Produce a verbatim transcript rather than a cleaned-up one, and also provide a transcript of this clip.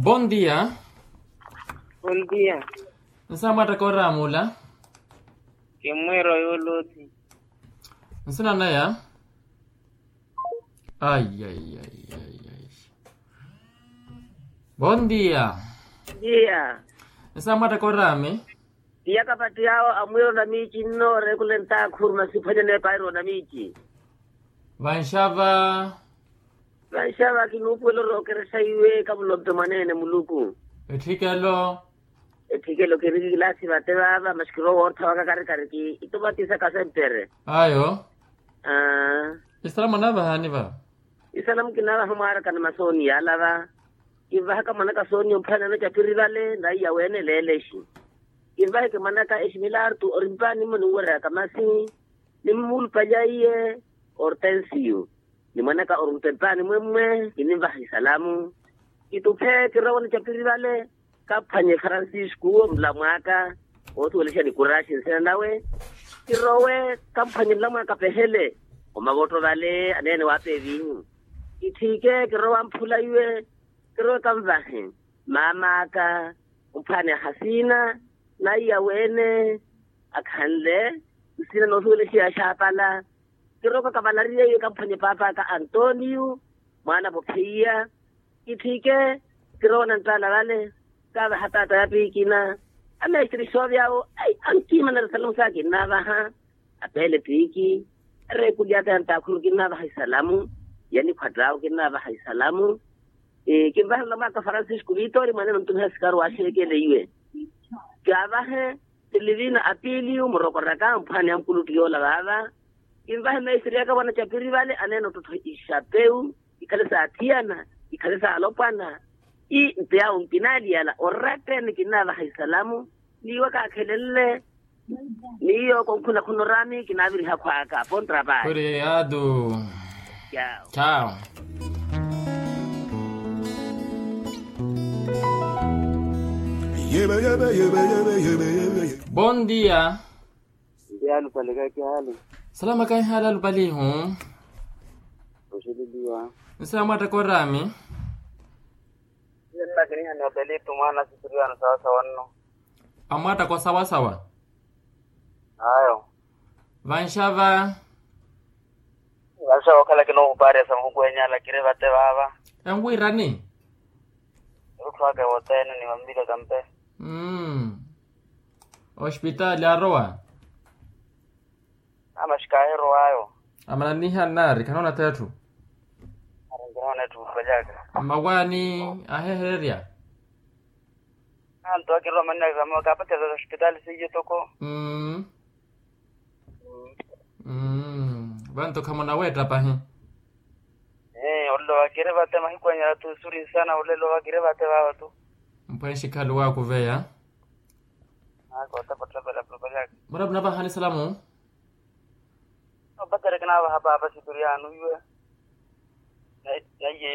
Bondia. Bondia. Nsamwatta koramula. Kimwiro yuluthi. Nsina naya. Ai ai ai ai ai. Bondia. Dia. Nsamwatta korami. Iya kapattiyawo amwiro namici nno orekula entakhuru masiphwanya nepairo namici. Vanxava. Vanxava kinuupuwela orookerexa iwe kavulompe mwaneene muluku. Etthikelo. Etthikelo kiri kilaasi vate vaava maxikiro woortha waka karikari ki ituvatisaka sempere. Ayo. Isalamu anaavahani va. Isalamu kinaavaha mwaaraka ni masooni yaalava. Kinvahaka mwanaka sooni omphana nacapiri vale naiya weene leelexi. Kinvaheke mwanaka eximilartu orimpaani mwe ninwereryaka masi. Nimmulupalya iye ortensiyu. Ni mwanaka orumpempaani mwemmwe kininvaha isalamu. Kituphe kirowa nicapiri vale. Kamphwanye francisco omulamwaka. Oothuwelexa nikuraxi nsina nawe. Kirowe kamphwanye mulamwaka pehele. Omavotto vale aneene waapeevinyu. Kitthike kirowa mphula iwe. Kirowe kamvahe maam'aka. Omphwaani ahasiina. Naiya weene akhanle nsina noosuwelexiwa axaapala. Kiroka kavalariye iwe kamphwanye paap'aka antonio. Mwaana vopheiya. Kitthike kirowa nanttaala vale. Kaavaha taata ya piikina. Amesitiri xoovy'awo ai ankiimana risalamu saa kinnaavaha. Apeele piiki. Ereekuli aka ya ntaakhuru kinnaavaha isalamu. Ya nikhwatt'awo kinnaavaha isalamu. Kinvahe mulamwaka francisco vitori mwaneene ontumiha sikaru waaxeekele iwe. Kaavahe silivina apiliyu murokoraka mphwaani ya mukulutti yoola vaava. Kinvahe meesiri aka vana capiri vale aneene ottottho ixapeu. Ikhale saathiyana ikhale saalopwana. I mpeyawo nkinaaliyala oratteni kinnaavaha isalamu. Niiwa kaakhelenle. Miyo konkhuna khuna oraami kinaaviriha khwaaka pontra paari. Kuri atu. Chao. Chao. Bondia. Ndi alupale kakihaali. Salama kakihaali alupalihu. Oxililiwa. Nsaamwatta korami. Nnakiniha ni apelitu mwaana asitiriwano sawasawa nno. Amwatta kosawasawa. Ayo. Vanxava. Vanxava okhala kinoohupaarya sa muhuku enyala kiri vate vaava. Enwirani. Erutthu aka ewoteene ni vampila kampe. Mm. Ospitaali arowa. Amaxikaahi erowaayo. Amananiha nnaari khanoona ttetthu. Ari nkinoona etthu mupalyaka. Mmawaani ahehererya. Anto akirwa manina kapattela ospitaali seiyo toko. Mm. Vanto khamunaweetta pahi. Olelo vakiri vate mahiku anyala tu suri nsana olelo vakiri vate vava tu. Mpwenxi khalu waakuveya. Akoota pattapela pulopelyaka. Mura munavahani salamu. Opattere kinaavaha paapa sipiriano iwe. Naiye.